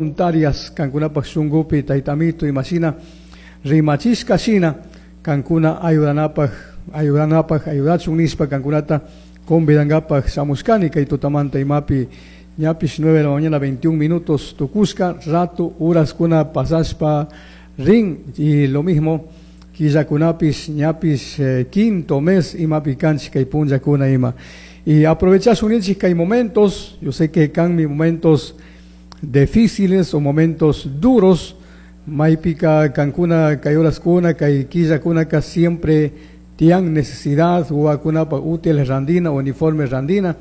Voluntarias kankunapaj shunkupi Tayta Amito imashina rimachishka shina kankuna ayudanapaj ayudanapaj ayudachun nishpa kankunata convidangapaj shamushkani kay tutamanta imapi ñapish 9 de la mañana 21 minutos tukushka rato horaskuna pasashpa rin y lo mismo killakunapish ñapish quinto mes imapi kanchik kay punllakuna ima y aprovechashun ninchik kay momentos. Yo sé que kanmi momentos difíciles o momentos duros maypika kankuna kay horaskuna kay killakunaka siempre tiyan necesidad wawakunapaj útiles randina, uniformes randina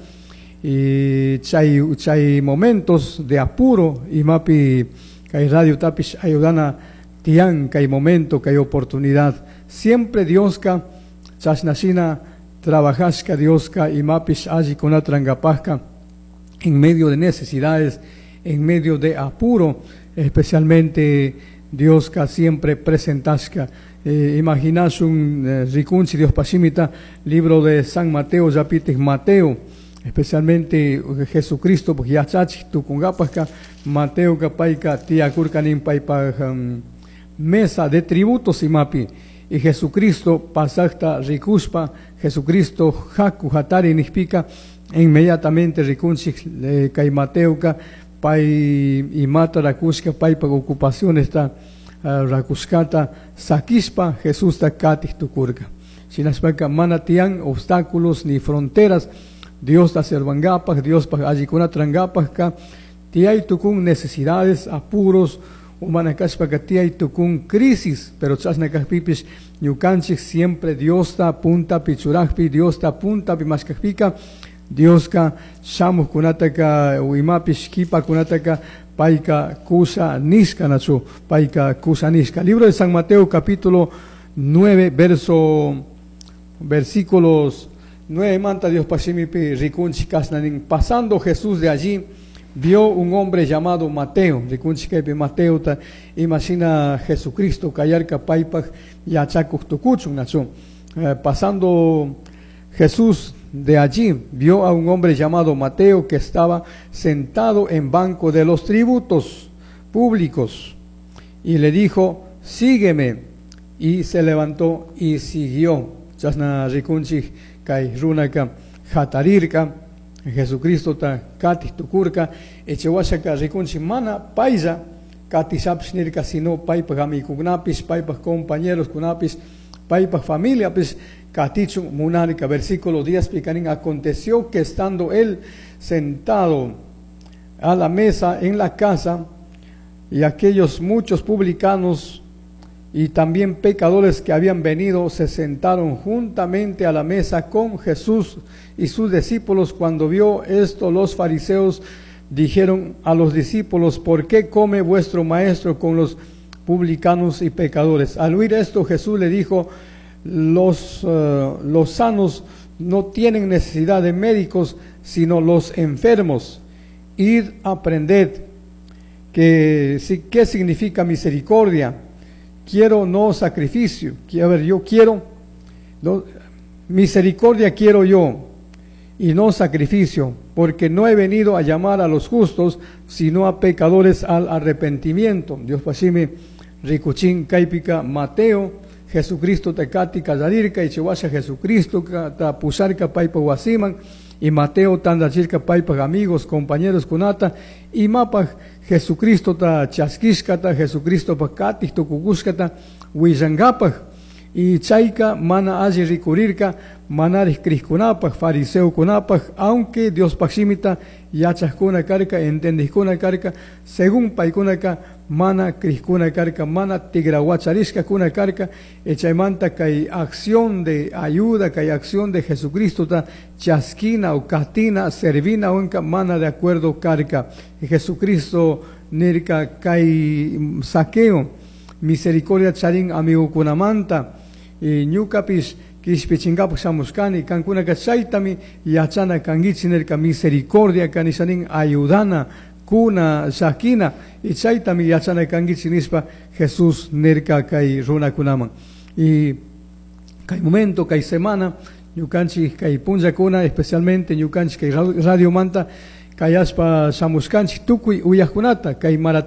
y chay momentos de apuro imapi kay radiotapish ayudana tiyan kay momento, kay oportunidad. Siempre Dioska chashna shina trabajashka. Dioska imapish allikunata rurankapajka en medio de necesidades, en medio de apuro, especialmente Dioska siempre presentashka. Imaginashun rikunchik Diospaj shimita, libro de San Mateo, llapitik Mateo, especialmente Jesucristo yachachik tukunkapajka Mateoka payka tiyakurka nin paypaj mesa de tributos imapi y Jesucristo pasajta rikushpa, Jesucristo jaku jatari nijpika, inmediatamente rikunchik kay Mateoka pay imata rakushka, paypak ocupación está rakushkata sakishpa Jesusta katij tukurka. Shinashpaka mana tiyan obstáculos ni fronteras Diosta servangapaj, Diospaj allikunata rurankapajka. Tiyay tukun necesidades, apuros, mana kashpaka tiyay tukun crisis, pero chashna kajpipish ñukanchik siempre Diosta puntapi churajpi, Diosta puntapi mashkajpika, Dioska shamujkunataka imapish kipakunataka payka kusha nishka, nachu payka kusha nishka. Libro de San Mateo, capítulo 9, versículos 9 manta Diospaj shimipi rikunchik kashna nin: Pasando Jesús de allí, vio un hombre llamado Mateo. Rikunchik kaypi Mateota imashina Jesucristo kayarka paypaj yachakuj tukuchun, nachu. Pasando Jesús de allí, vio a un hombre llamado Mateo que estaba sentado en banco de los tributos públicos y le dijo: "Sígueme". Y se levantó y siguió. Chashna rikunchik kay runaka jatarirka, Jesucristo ta katij tukurka. Chawashaka rikunchik mana paylla katishapish nirka, sino paypaj amigukunapish, paypaj compañeros kunapish, paypaj familiapish katichun munarka. Versículo 10 pika nin: Aconteció que estando él sentado a la mesa en la casa, y aquellos muchos publicanos y también pecadores que habían venido se sentaron juntamente a la mesa con Jesús y sus discípulos. Cuando vio esto, los fariseos dijeron a los discípulos: "¿Por qué come vuestro maestro con los publicanos y pecadores?". Al oír esto, Jesús le dijo: Los sanos no tienen necesidad de médicos, sino los enfermos. Id, aprended que, ¿qué significa misericordia? Quiero no sacrificio. A ver, yo quiero, no, misericordia quiero yo y no sacrificio, porque no he venido a llamar a los justos, sino a pecadores al arrepentimiento". Diospaj shimi rikuchin kaypika Mateo, Jesucristo ta kati kallarirka y chiwasha Jesucristo ta pusharka paypa wasiman y Mateo tandachirka paypaj amigos, compañeros kunata imapaj Jesucristo ta chaskishkata, Jesucristo pa katij tukukushkata willankapaj. Y chayka mana alli rikurirka manarij crijkunapaj, fariseokunapaj, aunque Diospaj shimita yachajkuna karka, entendijkuna karka, según paykunaka mana crijkuna karka, mana tigrawacharishkakuna karka. Chaymanta kay acción de ayuda, kay acción de Jesucristo ta chaskina o katina, servina unka mana de acuerdo karka. Jesucristo nirka kay Zaqueo misericordia charin amigukunamanta y ñukapish kishpichinkapaj shamushkani, kankunaka chaytami yachana kankichik nirka. Misericordia kanishanin ayudana, kuna, llakina y chaytami yachana kankichik nishpa Jesús nirka kay runakunaman. Y kay momento, kay semana, ñukanchik kay punllakuna, especialmente ñukanchik kay radio manta. Cayashpa shamushkanchik tukuy uyajkunata kay maratón.